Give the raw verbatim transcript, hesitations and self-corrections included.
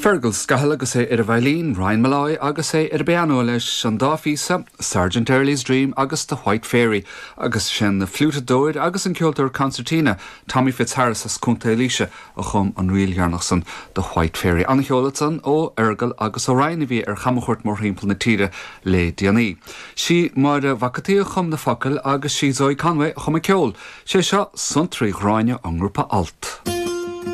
Fergal Scahill agus é ar an veidhlín, Ryan Molloy agus é ar an bpianó leis an dá phíosa, Sergeant Early's Dream agus The White Fairy, agus sin na fliútadóir agus an ceoltóir concertina Tommy Fitzharris as Contae Laoise a chum an ríl dheireanach san The White Fairy. An-cheol ansan ó Fheargal agus ó Ryan a bhí ar chamchuairt mórthimpeall na tíre le déanaí. Sí Máire Mhac an tSaoi a chum na focail agus sí Zoe Conway a chum an ceol, sé seo Suantraí Ghráinne an ngrúpa Alt.